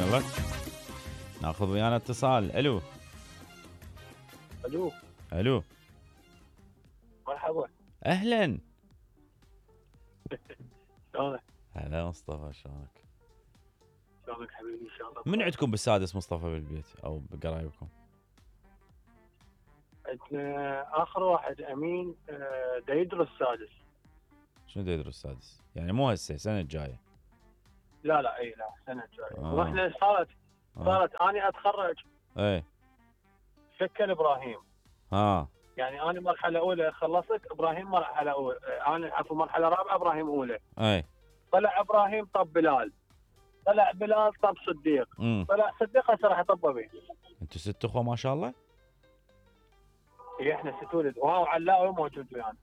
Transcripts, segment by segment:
يلا ناخذ ويانا اتصال. الو الو الو مرحبا. اهلا. شلونك؟ هلا مصطفى، شلونك؟ شلونك حبيبي؟ ان شاء الله. من عندكم بالسادس مصطفى بالبيت او بقرايبكم؟ عندنا اخر واحد امين دا يدرس سادس. شنو دا يدرس السادس؟ يعني مو هسه السنه الجايه؟ لا اي لا السنه الجايه. آه. واحنا صارت اني اتخرج ايه شكل ابراهيم. ها يعني انا مرحله اولى خلصت، ابراهيم مرحله اولى، انا عفوا مرحله رابعه، ابراهيم اولى. ايه طلع ابراهيم طب بلال، طلع بلال طب صديق، طلع صديق هسه راح يطب به. انتوا 6 اخوه ما شاء الله؟ اي احنا 6 ولد، وهو علاوي موجود ويانا.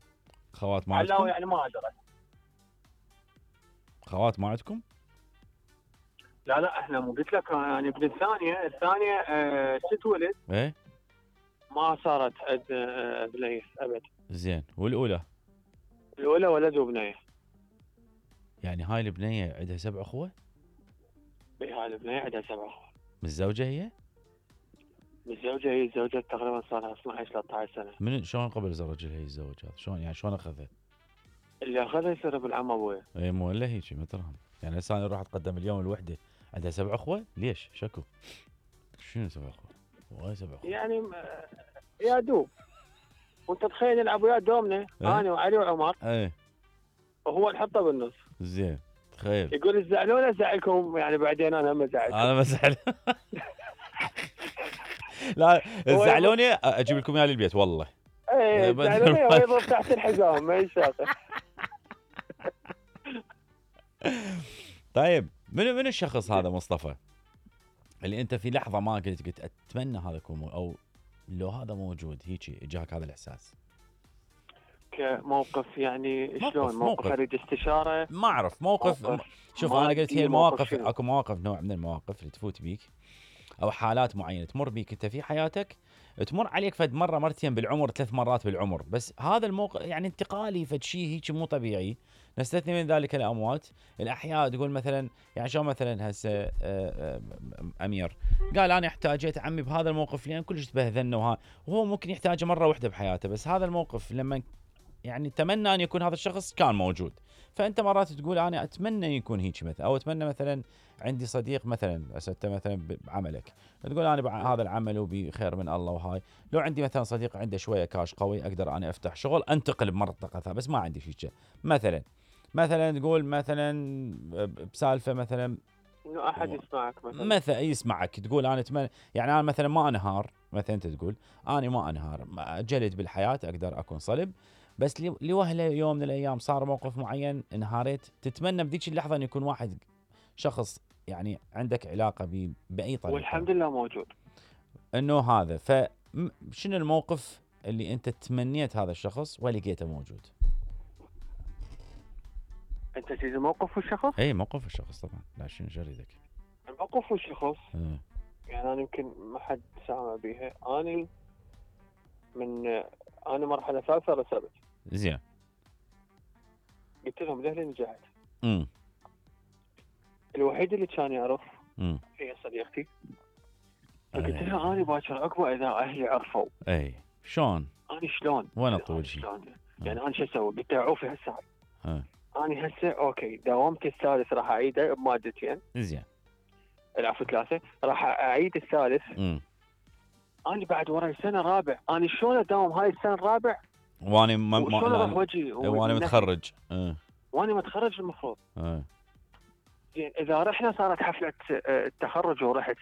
خوات ما علاوي عندكم؟ يعني ما ادري. خوات ما عندكم؟ لا احنا مو قلت لك يعني ابن الثانيه 6 ولد. ايه ما صارت عند بنيه ابد. زين، والاولى؟ الاولى ولد وبنيه. يعني هاي البنيه عندها 7 اخوه؟ اي هاي البنيه عندها 7 اخوه. متزوجه هي؟ متزوجه، هي تزوجت تقريبا صار لها 12 13 سنه. من شلون قبل الزوج هي الزوج هذا؟ شلون يعني شلون اخذها؟ اللي اخذها يصير ابن عم ابويا. اي مو الا هيك مثلهم. يعني هسه انا اروح اتقدم اليوم الوحده عندها 7 اخوه؟ ليش؟ شكو؟ شنو 7 اخوه؟ وايد 7 اخوه يعني يا دوب. وانت تخيل يلعب ويا دومنا انا وعلي وعمر. ايه وهو نحطه بالنص. زين تخيل. يقول تزعلون ازعلكم يعني بعدين انا هم ازعلكم. انا بزعل. لا تزعلوني اجيب لكم اياه للبيت والله. ايه تزعلوني ويضرب تحت الحزام ما يشاطر. طيب من الشخص هذا مصطفى اللي انت في لحظه ما قلت اتمنى هذا يكون او لو هذا موجود هيك اجاك هذا الاحساس؟ كموقف يعني شلون؟ موقف اريد استشاره؟ ما اعرف موقف. شوف انا قلت هي المواقف، اكو مواقف نوع من المواقف اللي تفوت بيك او حالات معينه تمر بيك انت في حياتك، تمر عليك فد مره مرتين بالعمر، 3 مرات بالعمر، بس هذا الموقف يعني انتقالي فد شيء هيك مو طبيعي. نستثني من ذلك الاموات. الاحياء تقول مثلا يعني شلون مثلا هسه امير قال انا احتاجيت عمي بهذا الموقف لان كلش تبهذلنا وهو ممكن يحتاجه مره واحده بحياته، بس هذا الموقف لما يعني تمنى ان يكون هذا الشخص كان موجود. فانت مرات تقول انا اتمنى يكون هيك مثلا، او اتمنى مثلا عندي صديق مثلا انت مثلا بعملك تقول انا هذا العمل وبخير من الله وهاي، لو عندي مثلا صديق عنده شويه كاش قوي اقدر انا افتح شغل انتقل بمنطقه ثانيه، بس ما عندي شيء مثلا تقول مثلا بسالفه مثلا انه احد يسمعك مثلا يسمعك تقول انا اتمنى يعني انا مثلا ما انهار، مثلا انت تقول انا ما انهار جلد بالحياه اقدر اكون صلب، بس لوهله يوم من الايام صار موقف معين انهارت، تتمنى بذيك اللحظه ان يكون واحد شخص يعني عندك علاقه باي طريقه، والحمد لله موجود انه هذا. فشنو الموقف اللي انت تمنيت هذا الشخص ولقيته موجود؟ انت تريد موقف الشخص؟ اي موقف الشخص طبعا، لا شنو جريدك؟ الموقف الشخص يعني انا يمكن ما حد سامع بيها. انا مرحله ثالثه رسبت. زين. قلت لهم لهلي نجحت. الوحيد اللي كان يعرف هي صديقتي. فقلت لها انا باكر عقبه اذا اهلي عرفوا. اي شلون؟ انا شلون؟ وانا طول شيء يعني انا شو اسوي؟ قلت لها عوفي هسه انا هسه اوكي داومت الثالث راح اعيده بمادتين. زين. العفو 3 راح اعيد الثالث. انا بعد وراي سنه رابع، انا شلون اداوم هاي السنه الرابع وانا متخرج؟ وانا متخرج المفروض. زين اذا رحنا صارت حفله التخرج ورحت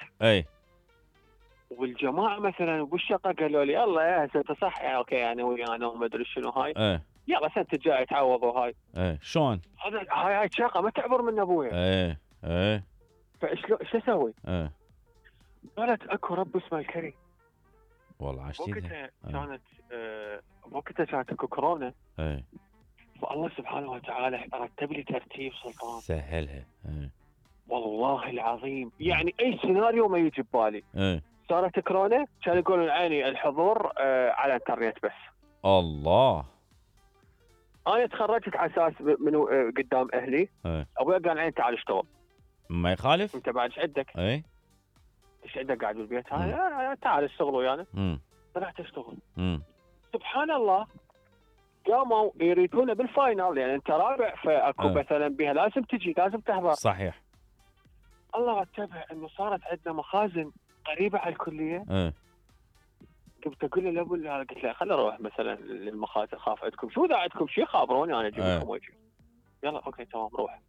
والجماعه مثلا بالشقه قالوا لي يلا يا هسه صح يعني اوكي يعني ويانا وما ادري شنو هاي يلا سنه الجاي تعوضوا هاي. شلون؟ هاي شاقه ما تعبر من ابويا. فشلون شو اسوي؟ قالت اكو رب اسمه الكريم. والله عشتيها. وقتها كانت اكو كورونا. فالله سبحانه وتعالى رتب لي ترتيب سلطان سهلها. والله العظيم يعني اي سيناريو ما يجي ببالي. صارت كورونا كانوا يقولون عيني الحضور على الانترنت بس. الله. انا تخرجت على اساس من قدام اهلي. ابوي قال عيني تعال اشتغل. ما يخالف. انت بعد ايش عندك؟ ايش عندك قاعد بالبيت؟ تعال اشتغل ويانا. طلعت اشتغل. سبحان الله قاموا يريدونه بالفاينل، يعني انت رابع فاكو مثلا بها لازم تجي، لازم تحضر. صحيح. الله رتبها انه صارت عندنا مخازن قريبه على الكليه. قمت اقول له لابو، قلت له خليني اروح مثلا للمخازن، خاف عندكم شو اذا عندكم شيء خابروني انا اجيب لكم وجه. يلا اوكي تمام روح.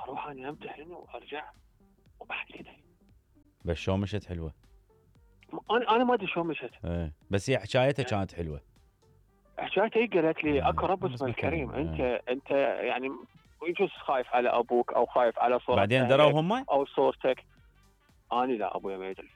اروح انا امتحن وارجع وبعد كذا. بس شو مشت حلوه؟ انا ما ادري شو مشت. بس هي حكايتها كانت حلوه. حكايتها هي قالت لي اكو رب اسمه الكريم. انت يعني يجوز خايف على ابوك او خايف على صورتك بعدين دروا هم او صورتك. انا لا ابويا ما يدري.